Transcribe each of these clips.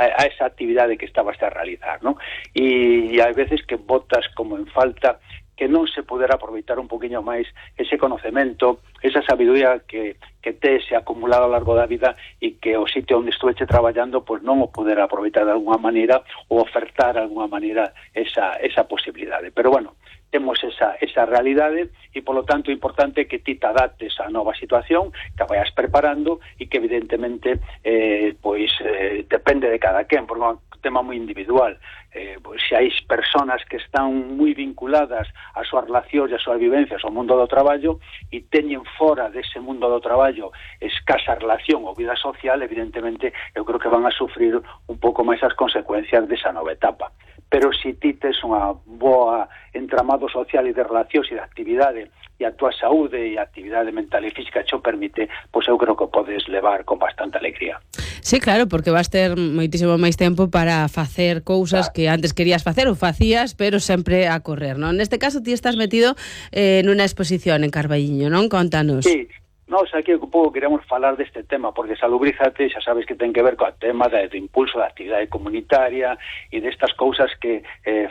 a esa actividade que estabas a realizar, non? E hai veces que botas como en falta que non se poderá aproveitar un poquinho máis ese conocemento, esa sabiduría que tes acumulado a lo largo da vida e que o sitio onde estuveche traballando pois non o poder aproveitar de alguna maneira ou ofertar de alguna maneira esa posibilidade. Pero bueno, temos esa realidade e, polo tanto, é importante que ti te adaptes á nova situación, que a vayas preparando e que, evidentemente, depende de cada quen, porque é un tema moi individual. Se hai personas que están moi vinculadas a súas relacións e a súas vivencias ao mundo do traballo e teñen fora dese mundo do traballo escasa relación ou vida social, evidentemente, eu creo que van a sufrir un pouco máis as consecuencias desa nova etapa. Pero se ti tes unha boa entramado social e de relacións e de actividade e a túa saúde e a actividade mental e física xo permite, pois eu creo que podes levar con bastante alegría. Sí, claro, porque vas ter moitísimo máis tempo para facer cousas que antes querías facer ou facías, pero sempre a correr, non? Neste caso ti estás metido nunha exposición en Carballiño, non? Contanos. Sí. Nós aquí un pouco queremos falar deste tema, porque Salubrízate xa sabes que ten que ver co tema do impulso da actividade comunitaria e destas cousas que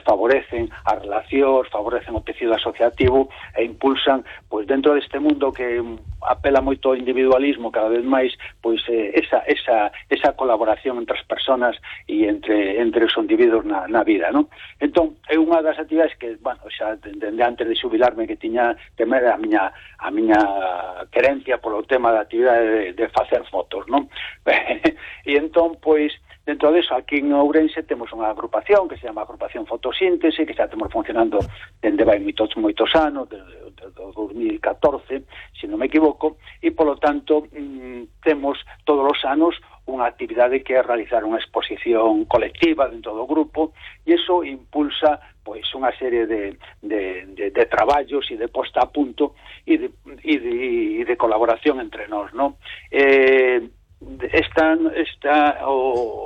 favorecen as relacións, favorecen o tecido asociativo e impulsan, pois dentro deste mundo que apela moito ao individualismo cada vez máis, pois esa colaboración entre as persoas e entre os individuos na vida, non? Entón, é unha das actividades que, bueno, xa dende antes de xubilarme que tiña temer a miña querencia polo tema da actividade de facer fotos, non? E entón, pois, dentro deso, aquí en Ourense temos unha agrupación que se chama Agrupación Fotosíntese, que xa temos funcionando dende vai moitos anos, desde 2014, se non me equivoco, e polo tanto temos todos os anos unha actividade que é realizar unha exposición colectiva dentro do grupo, e iso impulsa pois unha serie de traballos e de posta a punto e de colaboración entre nós, non?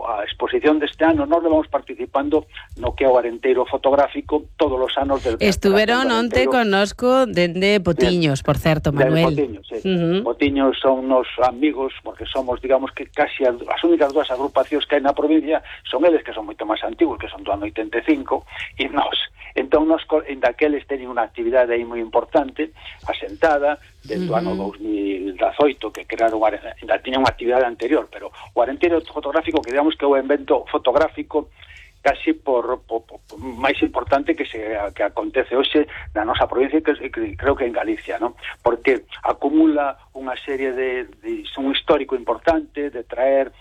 A exposición deste ano nós levamos participando no que é o Arenteiro fotográfico todos os anos. Estuveron onte connosco dende Potiños, por certo, Manuel. Potiños, sí. Potiños son nos amigos, porque somos, digamos que casi as únicas dúas agrupacións que hai na provincia, son eles que son moito máis antigos, que son do ano 85, e nós. Entón, nós, en daqueles, teñen unha actividade aí moi importante, asentada, desde o ano 2018, que crearon, ainda tiña unha actividade anterior, pero o Arenteiro fotográfico, que digamos que é o evento fotográfico casi por máis importante que acontece hoxe na nosa provincia, que creo que en Galicia, non? Porque acumula unha serie de un histórico importante de traer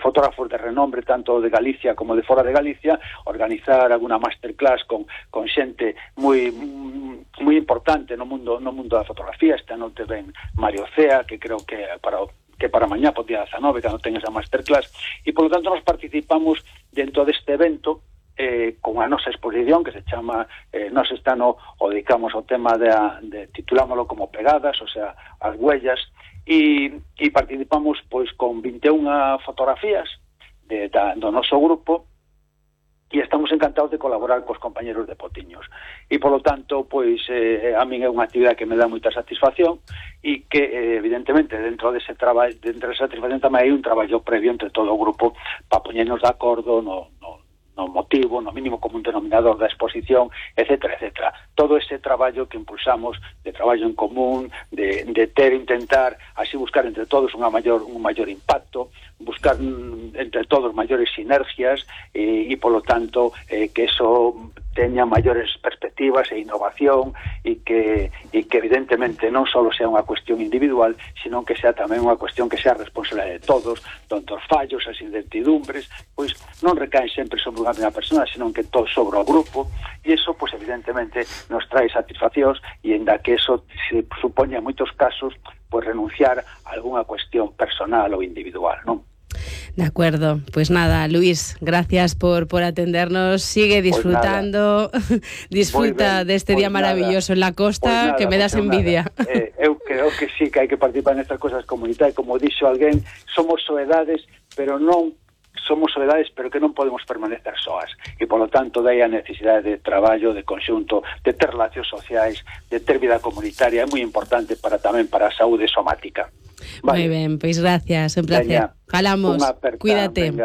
fotógrafos de renombre tanto de Galicia como de fora de Galicia, organizar alguna masterclass con xente moi importante no mundo da fotografía. Esta noite ven Mario Cea, que creo que para mañá, por día 19, cando ten esa masterclass, e polo tanto nos participamos dentro deste evento con a nosa exposición que se chama nós este ano o dedicamos ao tema de titulámoslo como pegadas, o sea, as huellas, e participamos pois con 21 fotografías do noso grupo, e estamos encantados de colaborar cos compañeros de Potiños. E, polo tanto, pois, a min é unha actividade que me dá moita satisfacción e que, evidentemente, dentro desa satisfacción tamén hai un traballo previo entre todo o grupo para poñernos de acordo no motivo, no mínimo común denominador da exposición, etcétera, etcétera. Todo ese traballo que impulsamos, de traballo en común, de intentar así buscar entre todos un maior impacto, buscar entre todos maiores sinergias e polo tanto que eso teña maiores perspectivas e innovación e que evidentemente non só sea unha cuestión individual, sino que sea tamén unha cuestión que sea responsabilidade de todos, donde os fallos, as incertidumbres, pois non recaen sempre sobre unha mesma persona, sino que todo sobre o grupo, e iso, pois evidentemente, nos trae satisfaccións, e ainda que eso se supoña en moitos casos, pois renunciar a algunha cuestión personal ou individual, non? De acuerdo, pues nada, Luis, gracias por atendernos, sigue disfrutando, pues disfruta de este día maravilloso en la costa, que me das envidia. Eu creo que sí, que hai que participar nestas cosas comunitarias, como dixo alguén, somos soedades, pero que non podemos permanecer soas, e polo tanto dai a necesidade de traballo, de conxunto, de ter relacións sociais, de ter vida comunitaria, é moi importante tamén para a saúde somática. Vale. Moi ben, pois gracias, un placer. Falamos, cuídate.